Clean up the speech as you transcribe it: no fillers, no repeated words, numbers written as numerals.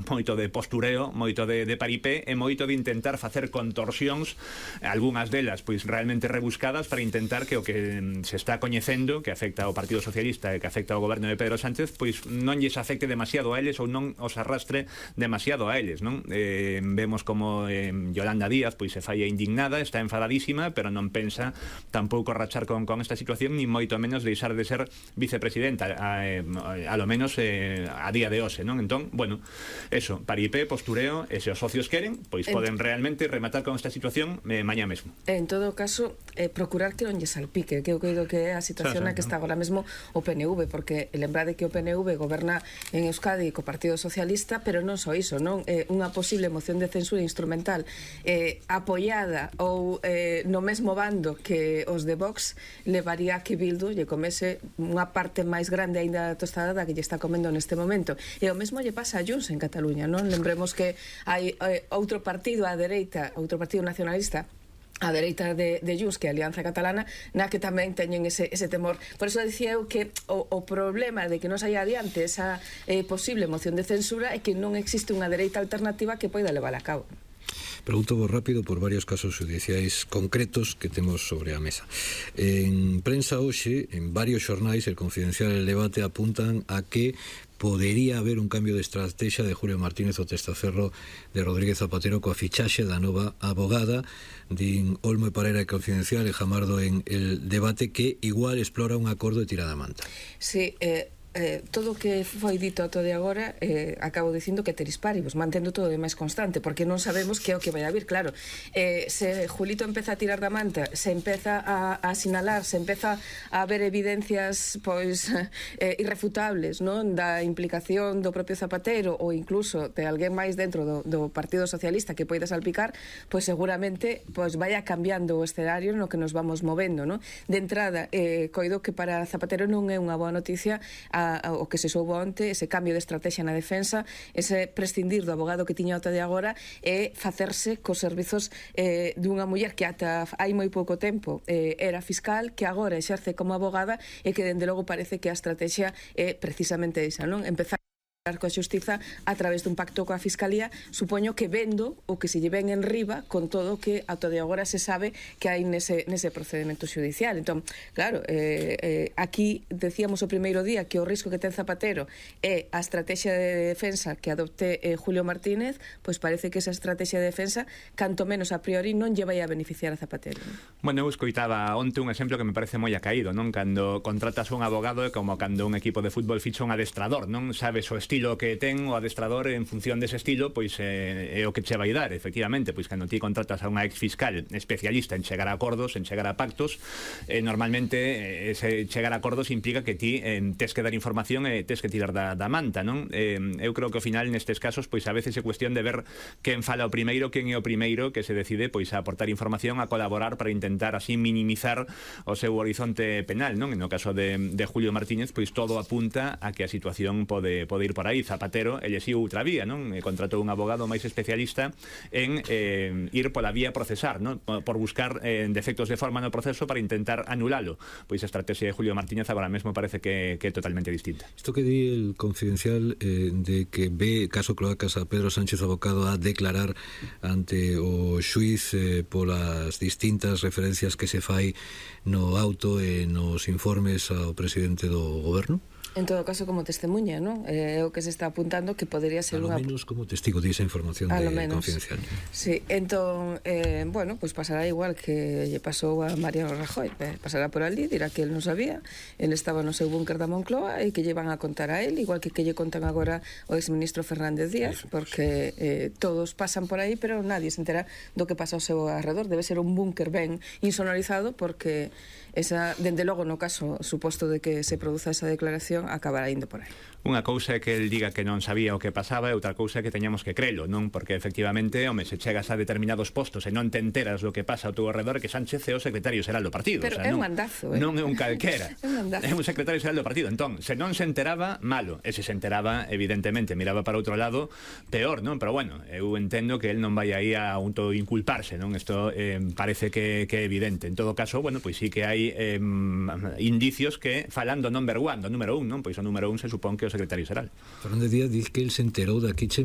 moito de postureo, moito de paripé e moito de intentar facer contorsións, algunhas delas pois realmente rebuscadas, para intentar que o que se está coñecendo, que afecta ao Partido Socialista e que afecta ao goberno de Pedro Sánchez, pois non lles afecte demasiado a eles ou non os arrastre demasiado a eles, non? Vemos como Yolanda Díaz pois se falla indignada, está enfadadísima, pero non pensa tampouco rachar con esta situación, ni moito menos deixar de ser vicepresidenta, a lo menos a día de hoxe, non? Entón, bueno, eso, paripé, postureo, e se os socios queren, pois poden realmente rematar con esta situación mañá mesmo. En todo caso, procurar que non lle salpique, que eu creo que é a situación na que está agora mesmo o PNV, porque lembrade que o PNV goberna en Euskadi co Partido Socialista, pero non só iso, non? Unha posible moción de censura instrumental apoiada ou no mesmo bando que os de Vox levaría a que Bildu lle comese unha parte máis grande aínda da tostada da que lle está comendo neste momento. E o mesmo lle pasa a Junts en Cataluña, non? Lembremos que hai outro partido á dereita, outro partido nacionalista a dereita de Junts, que é a Alianza Catalana, na que tamén teñen ese temor. Por eso dicía eu que o problema de que non saia adiante esa posible moción de censura é que non existe unha dereita alternativa que poida levar a cabo. Pregunto vos rápido por varios casos judiciais concretos que temos sobre a mesa. En prensa hoxe, en varios xornais, El Confidencial e El Debate apuntan a que podería haber un cambio de estrategia de Julio Martínez o testaferro de Rodríguez Zapatero coa fichaxe da nova abogada. Din Olmo e Parera e Confidencial e Jamardo en El Debate que igual explora un acordo de tirada manta. Sí, todo o que foi dito ato de agora acabo dicindo que teris paribus, mantendo todo de máis constante, porque non sabemos que é o que vai a vir. Claro, se Julito empeza a tirar da manta, se empeza a sinalar, se empeza a ver evidencias pois irrefutables, non, da implicación do propio Zapatero ou incluso de alguén máis dentro do Partido Socialista que poida salpicar, pois seguramente pois vaya cambiando o escenario no que nos vamos movendo, non? De entrada, coido que para Zapatero non é unha boa noticia o que se soubo onte, ese cambio de estrategia na defensa, ese prescindir do abogado que tiña ata de agora e facerse cos servizos dunha muller que ata hai moi pouco tempo era fiscal, que agora exerce como abogada e que dende logo parece que a estrategia é precisamente esa, non? Empezar coa xustiza a través dun pacto coa Fiscalía, supoño que vendo o que se lle ven en riba con todo o que ata de agora se sabe que hai nese procedimento xudicial. Entón, claro, aquí decíamos o primeiro día que o risco que ten Zapatero é a estrategia de defensa que adopte Julio Martínez, pois parece que esa estrategia de defensa, canto menos a priori, non lle vai a beneficiar a Zapatero. Bueno, eu escoitaba onte un exemplo que me parece moi acaído, non? Cando contratas un abogado é como cando un equipo de fútbol ficha un adestrador, non? Sabes o estilo que ten o adestrador, en función dese estilo pois é o que che vai dar, efectivamente. Pois cando ti contratas a unha ex fiscal especialista en chegar a acordos, en chegar a pactos, normalmente ese chegar a acordos implica que ti tes que dar información e tes que tirar da manta, non? Eu creo que ao final nestes casos pois a veces é cuestión de ver quen fala o primeiro, quen é o primeiro que se decide pois a aportar información, a colaborar para intentar así minimizar o seu horizonte penal, non? En o caso de Julio Martínez, pois todo apunta a que a situación pode ir por aí. Zapatero elexíu outra vía, non? Contratou un abogado máis especialista en ir pola vía procesar, non? Por buscar defectos de forma no proceso para intentar anulalo. Pois a estrategia de Julio Martínez agora mesmo parece que é totalmente distinta. Isto que di El Confidencial de que ve caso Cloacas a Pedro Sánchez abocado a declarar ante o xuiz polas distintas referencias que se fai no auto e nos informes ao presidente do goberno? En todo caso, como testemunha, non? É o que se está apuntando que podería ser unha... A lo menos como testigo de esa información de Confidencial. Sí, entón, bueno, pues pasará igual que lle pasou a Mariano Rajoy. Pasará por ali, dirá que el non sabía, el estaba no seu búnker da Moncloa e que lle van a contar a él, igual que lle contan agora o exministro Fernández Díaz, porque todos pasan por aí, pero nadie se entera do que pasa ao seu arredor. Debe ser un búnker ben insonorizado, porque esa, dende logo, no caso suposto de que se produza esa declaración, acabará indo por aí. Unha cousa é que el diga que non sabía o que pasaba e outra cousa é que teñamos que crelo, non? Porque efectivamente, home, se chegas a determinados postos e non te enteras do que pasa ao teu alrededor, que Sánchez é o secretario xeral do partido. Pero é un mandazo, non é un calquera. É un secretario xeral do partido. Entón, se non se enteraba, malo. E se se enteraba, evidentemente, miraba para outro lado, peor, non? Pero bueno, eu entendo que el non vai aí a autoinculparse, non? Isto parece que é evidente. En todo caso, bueno, pois sí que hai indicios que, falando number one, do número un, non? Pois o número un se supón que é o secretario xeral. Fernández Díaz dice que el se enterou da Kitchen